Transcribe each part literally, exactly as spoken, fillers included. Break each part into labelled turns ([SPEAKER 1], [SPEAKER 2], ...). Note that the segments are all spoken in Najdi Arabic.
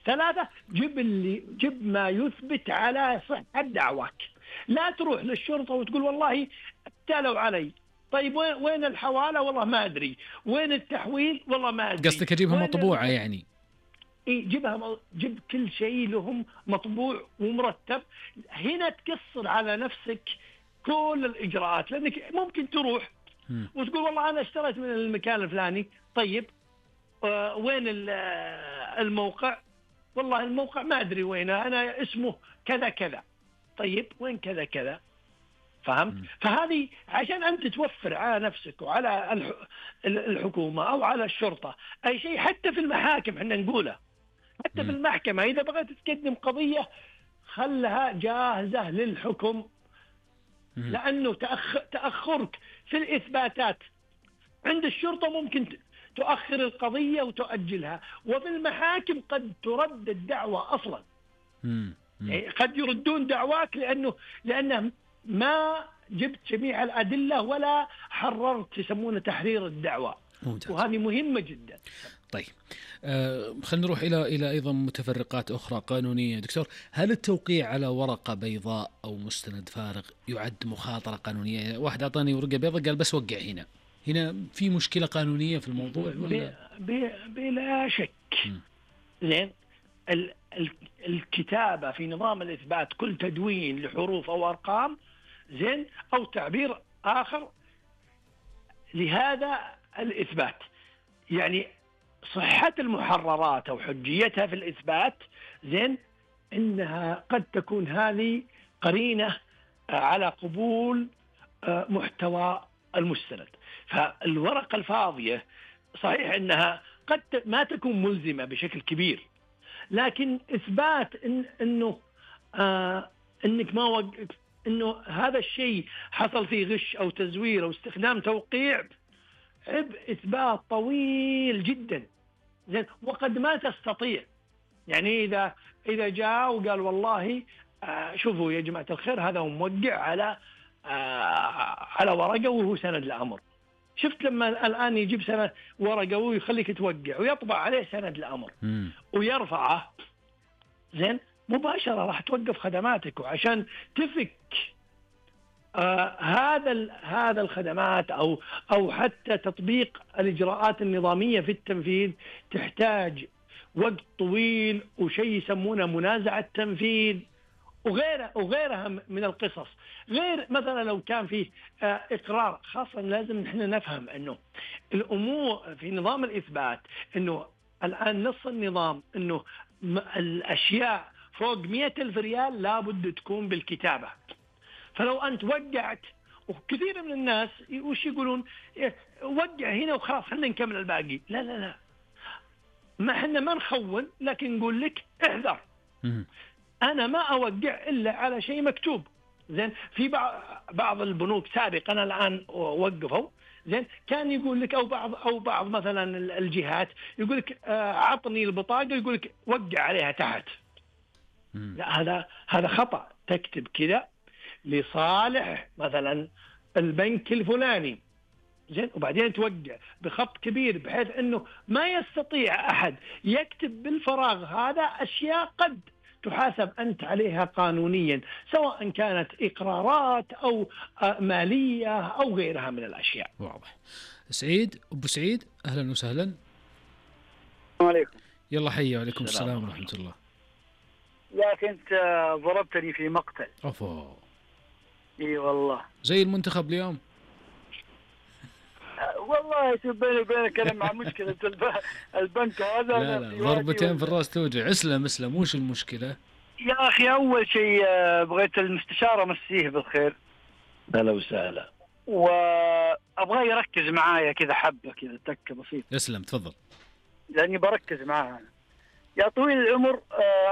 [SPEAKER 1] ثلاثة، جيب اللي جيب ما يثبت على صحة دعواك. لا تروح للشرطة وتقول والله ابتالوا علي. طيب وين وين الحوالة؟ والله ما أدري. وين التحويل؟ والله ما أدري.
[SPEAKER 2] قصدك أجيبها مطبوعة يعني؟
[SPEAKER 1] إيه، جيبها، جيب كل شيء لهم مطبوع ومرتب. هنا تقصر على نفسك كل الإجراءات، لأنك ممكن تروح م. وتقول والله أنا اشتريت من المكان الفلاني. طيب آه وين الموقع؟ والله الموقع ما أدري وينه، أنا اسمه كذا كذا. طيب وين كذا كذا؟ فهمت؟ م. فهذه عشان أنت توفر على نفسك وعلى الحكومة أو على الشرطة أي شيء. حتى في المحاكم احنا نقوله، حتى م. في المحكمة إذا بغيت تقدم قضية خلها جاهزة للحكم، م. لأنه تأخ... تأخرك في الإثباتات عند الشرطة ممكن تؤخر القضية وتؤجلها، وفي المحاكم قد ترد الدعوة أصلا. م. يعني قد يردون دعواك لأنه لأنه ما جبت جميع الأدلة ولا حررت، يسمونه تحرير الدعوة. ممتاز. وهذه مهمة جدا.
[SPEAKER 2] طيب آه خلينا نروح إلى إلى أيضا متفرقات أخرى قانونية. دكتور، هل التوقيع على ورقة بيضاء أو مستند فارغ يعد مخاطرة قانونية؟ واحد أعطاني ورقة بيضاء قال بس وقع هنا، هنا في مشكلة قانونية في الموضوع ولا؟
[SPEAKER 1] بلا شك. زين، ال ال الكتابة في نظام الإثبات كل تدوين لحروف أو أرقام، زين، أو تعبير آخر لهذا الإثبات، يعني صحة المحررات أو حجيتها في الإثبات، زين، إنها قد تكون هذه قرينة على قبول محتوى المستند. فالورقة الفاضية صحيح إنها قد ما تكون ملزمة بشكل كبير، لكن إثبات إن إنه آه إنك ما وق... إنه هذا الشيء حصل فيه غش أو تزوير أو استخدام توقيع عبء إثبات طويل جدا، زين، وقد ما تستطيع. يعني إذا إذا جاء وقال والله آه شوفوا يا جماعة الخير هذا هو موقع على آه على ورقة وهو سند الأمر. شفت لما الآن يجيب سند ورقة ويخليك توقع ويطبع عليه سند الأمر م. ويرفعه، زين، مباشرة راح توقف خدماتك. وعشان تفك آه هذا هذا الخدمات أو أو حتى تطبيق الإجراءات النظامية في التنفيذ تحتاج وقت طويل وشيء يسمونه منازعة تنفيذ وغيرها وغيرها من القصص. غير مثلا لو كان فيه آه إقرار، خاصة لازم نحن نفهم أنه الأمور في نظام الإثبات أنه الآن نص النظام أنه الأشياء فوق مئة ألف ريال لابد تكون بالكتابة. فلو أنت وقعت، وكثير من الناس وش يقولون وقع هنا وخلاص خلينا نكمل الباقي. لا لا لا، ما احنا ما نخون، لكن نقول لك احذر. أنا ما أوقع إلا على شيء مكتوب. زين، في بعض بعض البنوك سابقا الآن وقفوا، زين، كان يقول لك أو بعض أو بعض مثلا الجهات يقول لك آه عطني البطاقة، يقول لك وقع عليها تحت. لا، هذا هذا خطأ. تكتب كذا لصالح مثلا البنك الفلاني، زين، وبعدين توقع بخط كبير بحيث أنه ما يستطيع أحد يكتب بالفراغ. هذا أشياء قد تحاسب أنت عليها قانونيا، سواء كانت إقرارات أو مالية أو غيرها من الأشياء.
[SPEAKER 2] واضح. سعيد، أبو سعيد، أهلا وسهلا.
[SPEAKER 3] السلام عليكم.
[SPEAKER 2] يلا حي. وعليكم السلام ورحمة الله.
[SPEAKER 3] يا أخي أنت ضربتني في مقتل.
[SPEAKER 2] أوفو.
[SPEAKER 3] إي والله.
[SPEAKER 2] زي المنتخب اليوم.
[SPEAKER 3] والله شوف بيني وبينك أنا مع مشكلة البنك هذا.
[SPEAKER 2] لا لا، ضربتين في الرأس توجع. اسلم اسلم، وش المشكلة؟
[SPEAKER 3] يا أخي أول شيء بغيت المستشارة مسيه بالخير.
[SPEAKER 1] هلا وسهلا.
[SPEAKER 3] وأبغى يركز معايا كذا حبة كذا تكة بسيطة.
[SPEAKER 2] اسلم تفضل.
[SPEAKER 3] لأني بركز معاها. يا طويل العمر،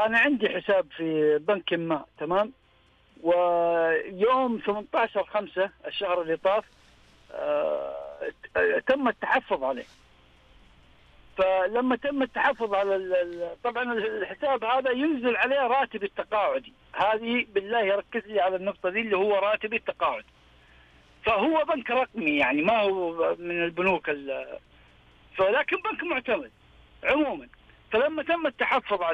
[SPEAKER 3] أنا عندي حساب في بنك ما، تمام؟ ويوم ثمانية عشر خمسة الشهر اللي طاف تم التحفظ عليه. فلما تم التحفظ على طبعا الحساب هذا ينزل عليه راتب التقاعدي. هذه بالله ركز لي على النقطة دي اللي هو راتب التقاعد. فهو بنك رقمي يعني ما هو من البنوك، فلكن بنك معتمد عموما. فلما تم التحفظ عليه